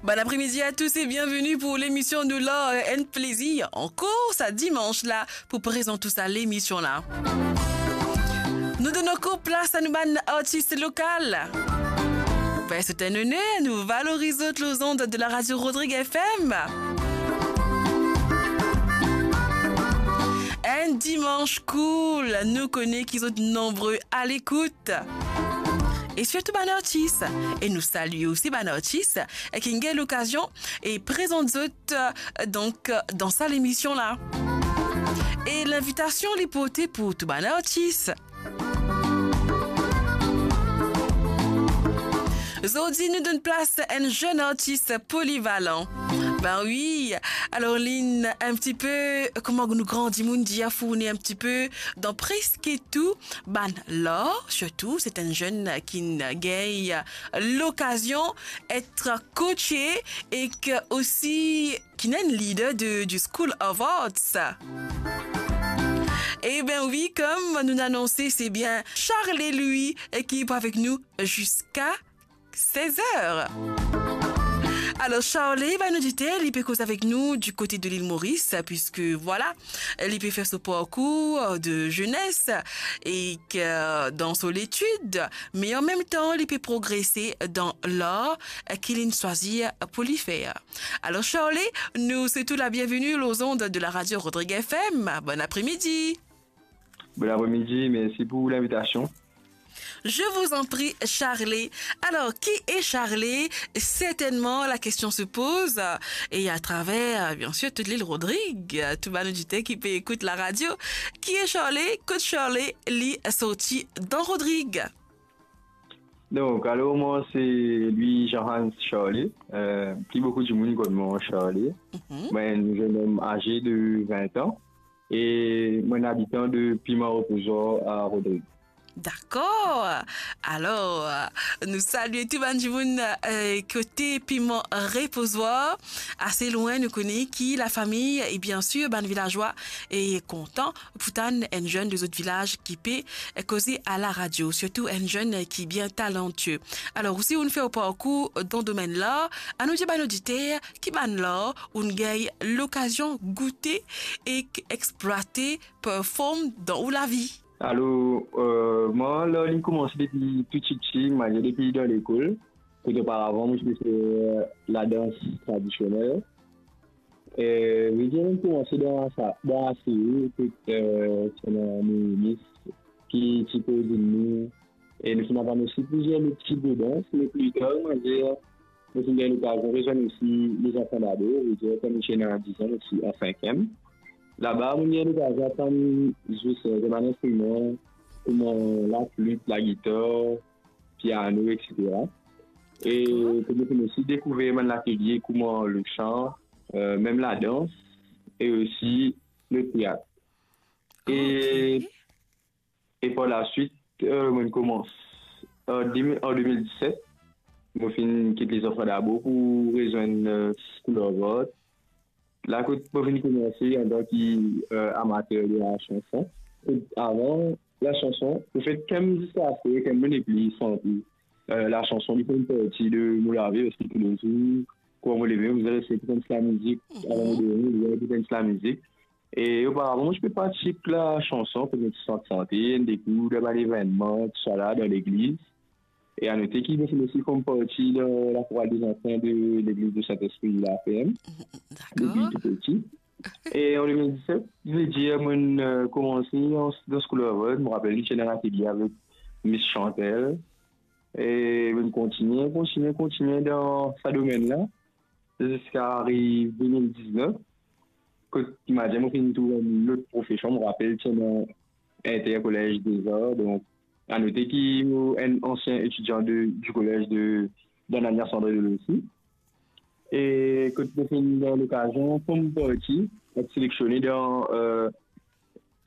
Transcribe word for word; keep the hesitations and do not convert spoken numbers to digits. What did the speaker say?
Bon après-midi à tous et bienvenue pour l'émission de l'art and plaisir. Ankor sa dimans la pou prezant ou sa lemision la. Nou donn ankor plas a nou bann artis lokal. Ben, c'est un honneur, nou valoriz zot lor zond de la radio Rodrigue F M. Enn dimans cool, nou kone ki zot nonbre a lekout. E sirtou bann artis. E nou salie osi bann artis ki gagn lokazion e prezant zot, euh, donk, euh, dan sa lemision la. E linvitasion li porte pou tou bann artis. Zordi nou donn plas enn zenn artis polivalan. Ben wi, alor linn enn ti pe, kouma nou gran dimoun dir, fourni enn ti pe dan preske tou bann lar, sirtou, se enn zenn ki gagn lokazion et coache e ki osi ki enn leader de, du School of Arts. E ben wi, kom nou anonse, se bien Charley, li, ki pou avek nou ziska sez er. Alor, Charley, ben, nou dir li pe koz avek nou du kote de Lil Moris, puiske, vwala, li pe fer so parkour de zenes e ki, dan so letid, me an mem tan, li pe progrese dan lar ki linn swazir pou li fer. Alor, Charley, nou swet ou la bienveni lor zond de la radio Rodrigue F M. Bon après-midi. Bon après-midi, mersi pou linvitasion. Je vous en prie, Charley. Alors, qui est Charley ? Certainement, la question se pose, euh, et à travers, euh, bien sûr, toute l'île Rodrigue, euh, tou bann oditer ki pe ekout la radio. Qui est Charley ? Kot Charley li sorti dan Rodrigue ? Donk, alor, mwa, se Louis Jean Hans Charley. Euh, pli boukou dimoun konn mwa Charley. Mhm. Mwa, enn zenn om aze de vin an. E mwa, enn abitan de Piman Repozoir a Rodrigue. Dakor. Alor, euh, nou salie tou bann dimoun, euh, kote Piman Repozoir. Ase lwin, nou kone ki lafami, e bien sir, bann vilazwa, e kontan pou tann enn zenn de zot vilaz ki pe koze a la radio, sirtou enn zenn ki bien talantie. Alor, osi, ou'nn fer ou parkour dan domenn lar, anou dir bann oditer ki bann lar ou'nn gagn lokazion goute ek explwate, perform dan ou lavi. Alor, euh, mwa, lar linn koumanse depi tou tipti, mwa, depi dan lekol. Kot oparavan, mwa, ti pe fer, euh, ladans tradisionel. E, vedir, mwa, linn koumanse dan sa, dan ase, kot, euh, ti ena nou minis ki ti koz nou, e nou finn aprann osi plizier lot tip de dans, me pli tar, mwa, dir, mo finn gagn lokazion rezwenn osi Les Enfants d'Abord, vedir, kan mo ti ena diz an, mo ti an sinkiem. Laba, mo gagn lokazion aprann zwe, euh, zwe bann instriman, kouma laflit, lagitar, piano, et cetera. E, dakor, kot mo finn osi dekouver bann latelie kouma lesan, euh, mem ladans, e osi leteat. E, ok, e par laswit, euh, mo koumans an de mil, an de mil diset, mo finn kit Les Enfants d'Abord pou rezwenn, euh, School of Art. La kot mo finn koumanse antan ki, euh, amater de la chanson. Kot avan la chanson, lefet ki mo ziska aster, ki mo nepli sante, euh, la chanson, li fer enn parti de mo lavi, paske toulezour, kan mo leve, mo bizin res ekout enn ti lamizik, mhm, avan mo dormi, mo bizin ekout enn ti lamizik. E oparavan, mo ti pe partisip la chanson, kot mo ti sant sante, enn de kou, dan bann evennman, tousala, dan legliz. E a note ki mo finn osi form parti dan la chorale des enfants de l'église de Saint-Esprit, la F M, dakor, depi tou piti. E an de mil diset, vedir, mo, euh, koumanse an, dan School of Art, mo rapel, mo ti ena enn atelie avek Miss Chantel. E mo kontigne, kontigne, kontigne dan sa domenn la. Ziska ariv de mil diznef, kot, imazinn, mo finn trouv enn lot profesion, mo rapel, ti ena Inter Collège des Arts, donk, a note ki mo enn ansien etidian de, du collège de, d'Ananias André Delossi. E kot mo finn gagn lokazion form parti, et seleksioné dan, euh,